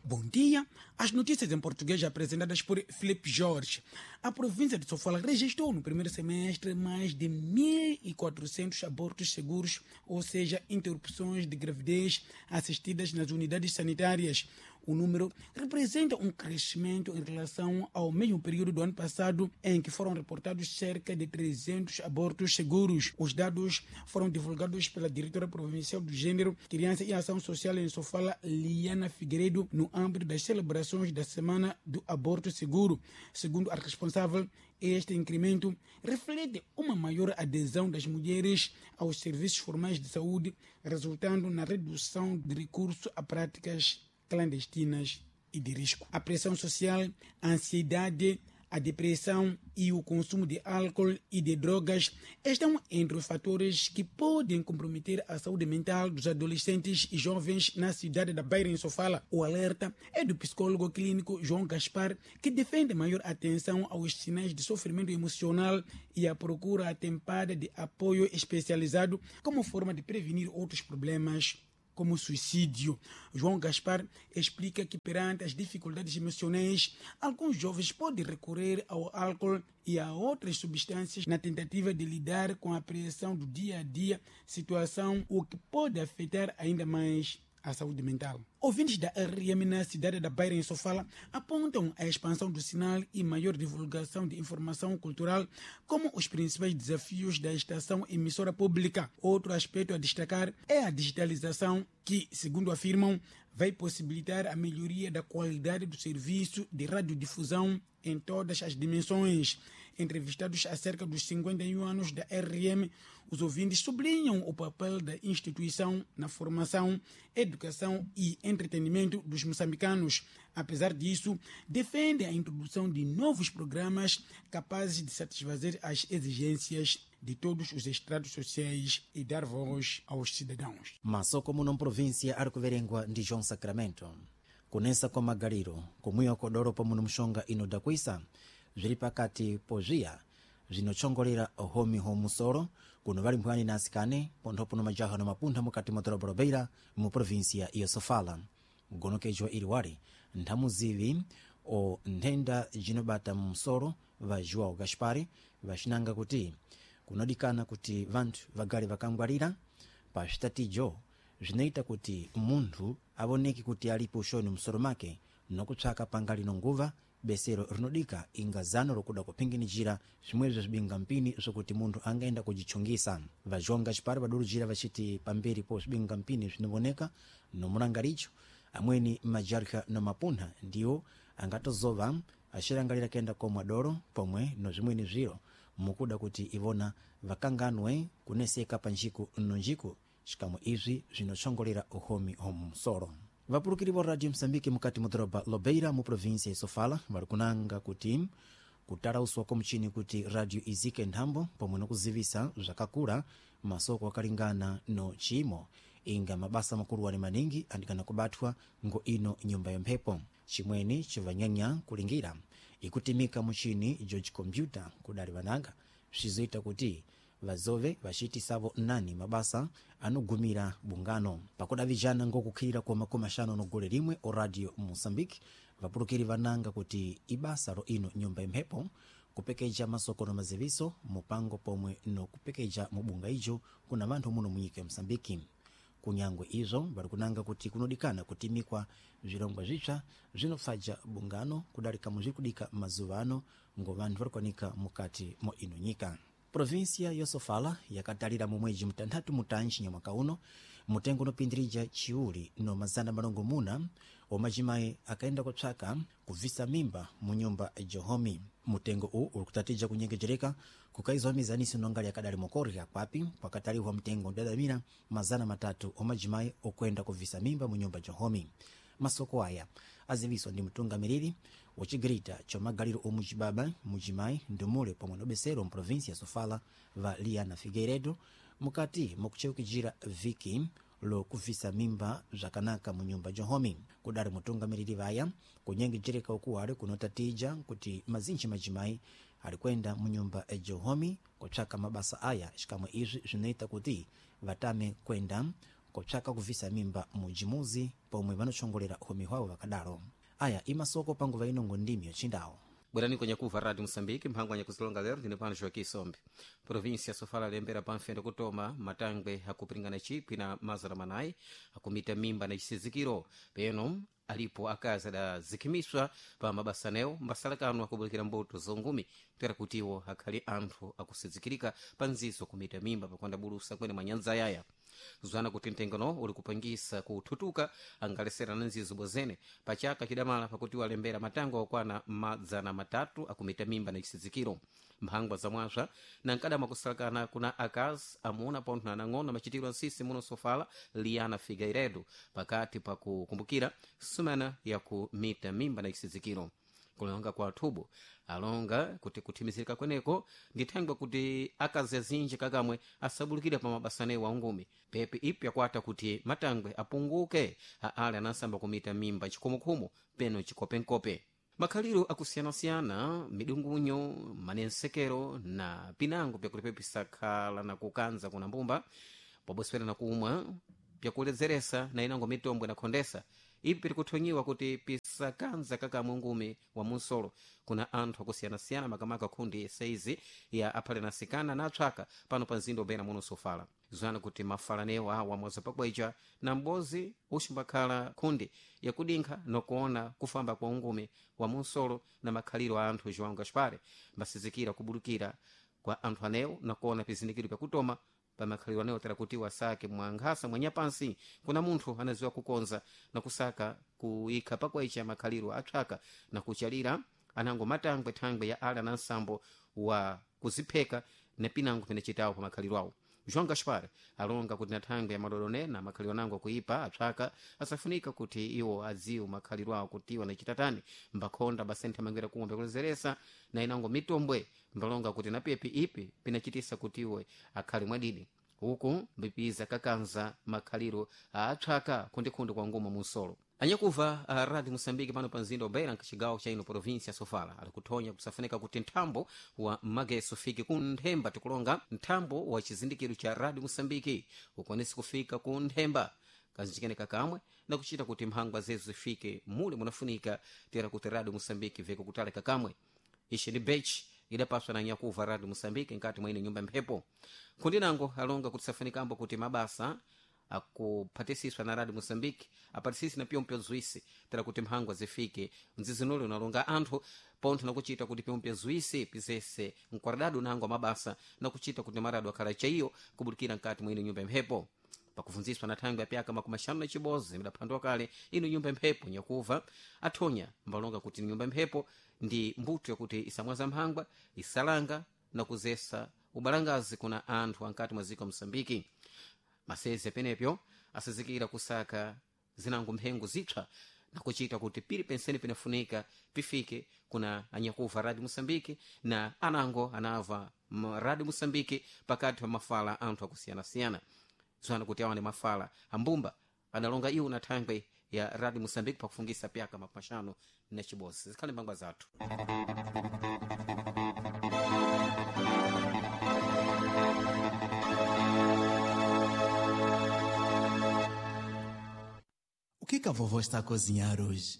Bom dia. As notícias em português apresentadas por Felipe Jorge. A província de Sofala registrou no primeiro semestre mais de 1.400 abortos seguros, ou seja, interrupções de gravidez assistidas nas unidades sanitárias. O número representa um crescimento em relação ao mesmo período do ano passado, em que foram reportados cerca de 300 abortos seguros. Os dados foram divulgados pela diretora provincial do Gênero, Criança e Ação Social em Sofala, Liana Figueiredo, no âmbito das celebrações da Semana do Aborto Seguro. Segundo a responsável, este incremento reflete uma maior adesão das mulheres aos serviços formais de saúde, resultando na redução de recurso a práticas clandestinas e de risco. A pressão social, a ansiedade, a depressão e o consumo de álcool e de drogas estão entre os fatores que podem comprometer a saúde mental dos adolescentes e jovens na cidade da Beira, em Sofala. O alerta é do psicólogo clínico João Gaspar, que defende maior atenção aos sinais de sofrimento emocional e a procura atempada de apoio especializado como forma de prevenir outros problemas como suicídio. João Gaspar explica que perante as dificuldades emocionais, alguns jovens podem recorrer ao álcool e a outras substâncias na tentativa de lidar com a pressão do dia a dia, situação o que pode afetar ainda mais a saúde mental. Ouvintes da RM na cidade da Beira, em Sofala, apontam a expansão do sinal e maior divulgação de informação cultural como os principais desafios da estação emissora pública. Outro aspecto a destacar é a digitalização que, segundo afirmam, vai possibilitar a melhoria da qualidade do serviço de radiodifusão em todas as dimensões. Entrevistados acerca dos 51 anos da RM, os ouvintes sublinham o papel da instituição na formação, educação e entretenimento dos moçambicanos. Apesar disso, defendem a introdução de novos programas capazes de satisfazer as exigências de todos os estratos sociais e dar voz aos cidadãos. Maso como não província arikuverengwa ndi João Sacramento. Kunesa kwa magaliro kumwiwa kodoro pamuno mxonga ino dakwisa zviri pakati pozviya zvinotshongolera homi homusoro kuno vali mphwani na asikane ponthopo no majaha no mapuntha mukati mwa doroba lobeira mu província ya Sofala. Mgonokejwa ili wali nthamuzivi o nthenda jinobata msoro va João Gaspar vaxinanga kuti kunodikana kuti vanthu vagale vakangwalira pa zvitatijo zvinoita kuti munthu avoneke kuti alipo uxoni msoro make nokupsaka pangali nonguva besero rinodika inga zano lokuda kuphinginijira zvimwezvo zvibingampini zvokuti munthu angaenda kujichungisa. Va João Gaspar vadurujira vachiti pamberi po zvibingampini zvinovoneka nomulangaricho amweni majarha no mapuntha ndiwo angatozova axirangalira kuyenda komwa doro pomwe no zvimweni zviro mukuda kuti ivona vakanganwe kuneseka pa njiku no njiku xikamwe izvi zvinotshongolera uhomi homusoro. Vapulukiri va Radio Msambiki mukati mu doroba Lobeira mu província ya Sofala vari kunanga kuti kutalauswa kwa muchini kuti radio izike nthambo pomwe nokuzivisa zvakakula masoko akalingana no chimo inga mabasa makuluwani maningi andikana kubathwa ngo ino nyumba ya mphepo. Chimweni chivanyanya kulingira ikutimika muchini George Computer kudali vananga zvizoita kuti vazove vaciitisavo nani mabasa anogumira bungano. Pakudavijana ngokukhirira kwa makumi axanu no gole limwe o Radio Moçambique, vapulukiri vananga kuti ibasa ro ino nyumba ya mphepo kupekeja masoko no maziviso mupango pomwe no kupekeja mubunga ijo kuna vanthu muno munyika ya Moçambique. Kunyangwe izvo vari kunanga kuti kunodikana kutimikwa zvirongwa zvitsva zvinopfaja bungano kudarika muzviri kudika mazuva ano ngo vanthu vari kuwanika mukati mo ino nyika. Província ya Sofala yakatalira mu mwedzi mutanthatu mutanji nyamwaka uno mutengo unopindirija chiuli no mazana malongomuna omajimayi akaenda kupsaka kubvisa mimba mu nyumba johomi. Mutengo uwu uri kutatija kunyengejereka kukaizwa mizaniso nongali yakadali mokorya kwapi kwakataliwa mtengo udadamira 300 omajimayi okwenda kubvisa mimba mu nyumba johomi. Masoko aya aziviswa ndi mtungamiriri wacigirita ca magaliro omucibaba mujimayi ndumule pomwe nobesero mprovinsia ya Sofala va Liana Figueiredo mukati mokucheukijira viki lokubvisa mimba zvakanaka mu nyumba johomi. Kudari mutungamiriri vaya kunyengejereka ukuwali kunotatija kuti mazinji majimayi ali kwenda mu nyumba johomi kutsvaka mabasa aya xikamwe izvi zvinoita kuti vatame kwenda Kopsaka kuvisa mimba mujimuzi pomwe vanotchongolera uhomi hwawo vakadalo. Aya imasoko panguva inongo ndimi yochindawo. Bwerani kwenye kuva Radio Moçambique, mphango anyakuzilonga lero ndine pano Joaquim Sombe. Província sofala lembera pamfendo kutoma matangwe akupiringana chikwi na mazana manayi akumita mimba na chisizikiro peno alipo akazi adazikhimiswa pa mabasanewo mbasalakano akubulikira mbuto zongumi kutera kutiwo akhali anthu akusizikirika pa nzizo kumita mimba pakwanda bulusa kwene mwanyanza yaya zwana kuti mtengano uli kupangisa kuthutuka angalesera na nzizo bozene pachaka chidamala pakuti walembera matango okwana madzana matatu akumita mimba na chisizikiro mphangwa zamwazva na nkadama kusalakana kuna akazi amuna pontho na anang'ono machitiro ansisi muno sofala Liana Figueiredo pakati pakukumbukira sumana yakumita mimba na chisizikiro. Kulonga kwa thubo alonga kuti kuthimizirika kweneko ndithangwa kuti akazi azinji kakamwe asabulukire pa mabasanewo aungumi pepe ipi akwata kuti matangwe apunguke aale anasamba kumita mimba chikhumukhumu peno chikopenkope. Makhaliro akusiyanasiyana midungunyo manensekero na pinango pyakuti pepisakhala na kukanza kuna mbumba poboswera na kumwa pyakuledzeresa na inango mitombwe na khondesa ipi pirikuthonyiwa kuti pisakanza kakamwe ngumi wa munsolo kuna anthu akusiyanasiyana makamaka khundi saizi ya aphale na asikana na atchaka pano pa mzinda obena muno sofala zwana kuti mafalanewo awa mwaza pakwecha na m'bozi uximbakhala khundi yakudinkha nokuona kufamba kwa ungumi wa munsolo na makhaliro a anthu João Gaspar mbasizikira kubulukira kwa anthu anewo nakuona pizindikiro pyakutoma pamakhaliro anewo tera kuti wasake mwankhasa mwanyapansi kuna munthu anaziwa kukonza na kusaka kuyikha pakwecha makhaliro atchaka na kuchalira anango matangwe thangwe ya ala na nsambo wa kuzipheka na pinango pene chitawo pa makhaliro awo. João Gaspar alonga kuti na thangwe ya madodone na makhaliro anango akuipa atchaka asafunika kuti iwo adziwe makhaliro awo kuti iwo anachitatani mbakhonda basentha mangwera kumwe pyakulezeresa na inango mitombwe mbalonga kuti na pepi ipi pinachitisa kuti iwe akhale mwadidi uku mbipiza kakanza makhaliro aatchaka khundikhundi kwa nguma munsolo. Anyakuva a Radio Moçambique pano pa mzinda wa Beira nkacigawo cha ino província Sofala ali kuthonya kusafunika kuti nthambo wa mageso ufike ku nthemba tikulonga nthambo wa chizindikiro cha Radio Moçambique ukwanise kufika ku nthemba kazinjikene kakamwe na kuchita kuti mphangwa zezo zifike mule munafunika tera kuti Radio Moçambique veke kutale kakamwe. Ishi ni bech idapaswa na nyakuva Radio Moçambique nkati mwa ine nyumba mphepo kundinango alonga kuti safunikambo kuti mabasa akuphatisiswa na Radio Moçambique apatisisi na pyompyo zwisi tera kuti mphangwa zifike mzizinuli unalonga anthu pontho nakuchita kuti pyompyo zwisi pizese mkwaradadu nango mabasa nakuchita kuti marado akhala chaiyo kubulikira nkati mwa ine nyumba mphepo. Pakuvunziswa na thangwe yapyaka makumi axanu na chibodzi midaphandwa kale ino nyumba mphepo nyakuva athonya mbalonga kuti nyumba mphepo ndi mbuto yakuti isamwaza mphangwa isalanga na kuzesa ubalangazi kuna anthu ankati mwa ziko Moçambique. Masezi apenepyo asizikira kusaka zinango mphengo zipsa na kuchita kuti pili pensene pinafunika pifike kuna anyakuva Radio Moçambique na anango anava Radio Moçambique pakati pa mafala anthu akusiyanasiyana zwana kuti awa ni mafala ambumba adalonga iwo na thangwe ya Radio Moçambique pakufungisa pyaka makumi axanu na chibodzi. Zikhale mbangwa zathu. O que que a vovó está a cozinhar hoje?